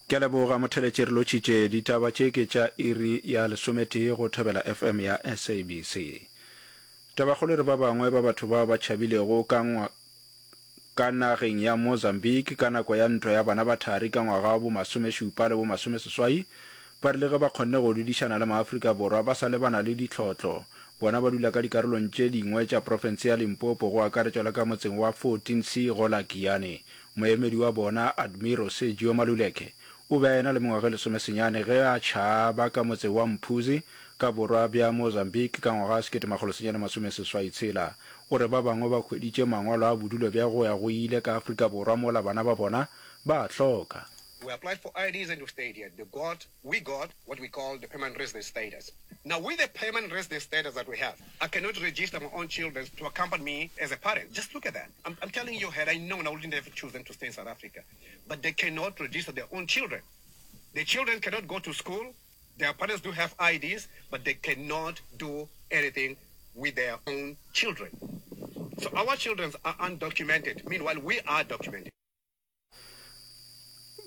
Ke a leboga Motheletši re lotšhitše. Ditaba tše ke tša iri ya lesometee go Thobela FM ya SABC. Tabakgolo e re ba bangwe ba batho bao ba tšhabilego ka ka nageng ya Mozambique ka nako ya ntwa ya bana ba thari ka ngwaga wa bomasomešupa le bomasomeseswai ba rile ge ba kgonne go dudišana le maAfrika Borwa ba sa lebana le ditlhotlo. Bona ba dula ka dikarolong tše dingwe tša profense ya Limpopo go akaretšwa le ka motseng wa 14C gola Giyani. Moemedi wa bona, Admiro Sergio Maluleke, o be a ena le mengwaga e lesomesenyane ge a tšhaba ka motse wa Mphuzi ka borwa bja Mozambique ka ngwaga wa 1986. O re ba bangwe ba hweditše mangwalo a bodulo bja go ya go ile ka Afrika Borwa mola bana ba bona ba a hloka. We applied for IDs and we stayed here. They got, we got what we call the permanent resident status. Now with the permanent resident status that we have, I cannot register my own children to accompany me as a parent. Just look at that. I'm, I'm telling you, had I known, I wouldn't have chosen to stay in South Africa. But they cannot register their own children. The children cannot go to school. Their parents do have IDs, but they cannot do anything with their own children. So our children are undocumented. Meanwhile, we are documented.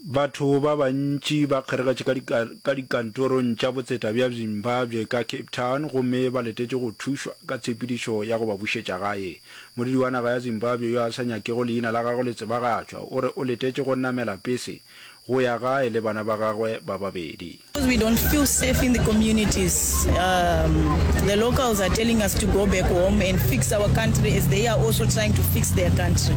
Batho ba bantši ba kgeregetše ka ka dikantorong tša botseta bja Zimbabwe ka Cape Town gomme ba letetše go thušwa ka tshepedišo ya go ba bušetša gae. Modudi wa naga ya Zimbabwe yo a sa nyakego leina la gagwe le tsebagatšwa o re o letetše go namela pese go ya gae le bana ba gagwe ba babedi. Because we don't feel safe in the communities, um, the locals are telling us to go back home and fix our country as they are also trying to fix their country.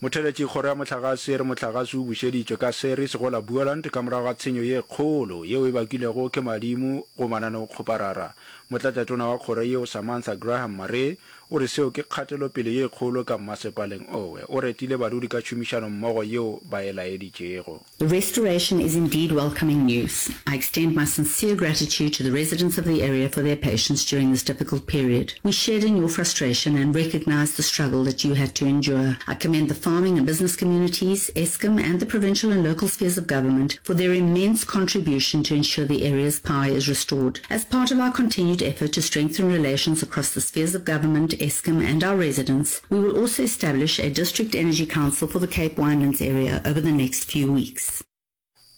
Motheletši Kgoro ya Mohlagase e re mohlagase o bušeditšwe ka Ceres go la Boland ka morago ga tshenyo ye kgolo yeo e bakilwego ke madimo go mananeokgoparara. Motlatšatona wa kgoro yeo Samantha Graham Maree o re seo ke kgatelopele ye kgolo ka mmasepaleng owe. O retile badudi ka tšhomišanommogo yeo ba e laeditšego. The restoration is indeed welcoming news. I extend my sincere gratitude to the residents of the area for their patience during this difficult period. We shared in your frustration and recognize the struggle that you had to endure. I commend the farming and business communities, Eskom and the provincial and local spheres of government for their immense contribution to ensure the area's power is restored. As part of our continued effort to strengthen relations across the spheres of government, Eskom and our residents, We will also establish a District Energy Council for the Cape Winelands area over the next few weeks.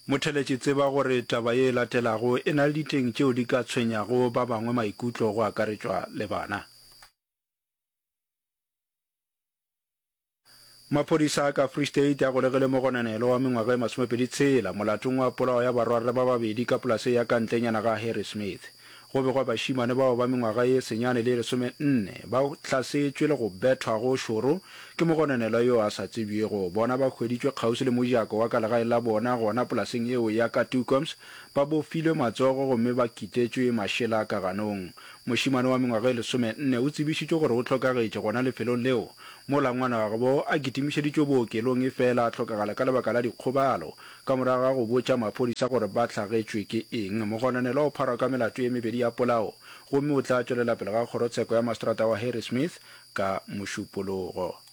Motheletši tseba gore taba ye e latelago e na le diteng tšeo di ka tshwenyago ba bangwe maikutlo go akaretšwa le bana. Maphodisa a ka Free State a golegile mogononelwa wa mengwaga e masomepedi tshela molatong wa polao ya barwarre ba babedi ka polaseng ya ka ntlenyana ga Harrismith. Go begwa bašemane bao ba mengwaga ye senyane le ye lesomenne ba hlasetšwe le go bethwa go šoro ke mogononelwa yo a sa tsebjego. Bona ba hweditšwe kgauswi le mojako wa ka legaeng la bona gona polaseng yeo ya ka Toekoms ba bofilwe matsogo gomme ba kitetšwe mašela ka ganong. Mošemane wa mengwaga ye lesomenne o tsebišitšwe gore o hlokagetše gona lefelong leo mola ngwanagabo a kitimišeditšwe bookelong efela a hlokagala ka lebaka la dikgobalo Ka morago ga go botša maphodisa gore ba hlagetšwe ke eng, mogononelwa o pharwa ka melato ye mebedi ya polao gomme o tla tšwelela pele ga kgorotsheko ya maseterata wa Harrismith ka Mošupologo.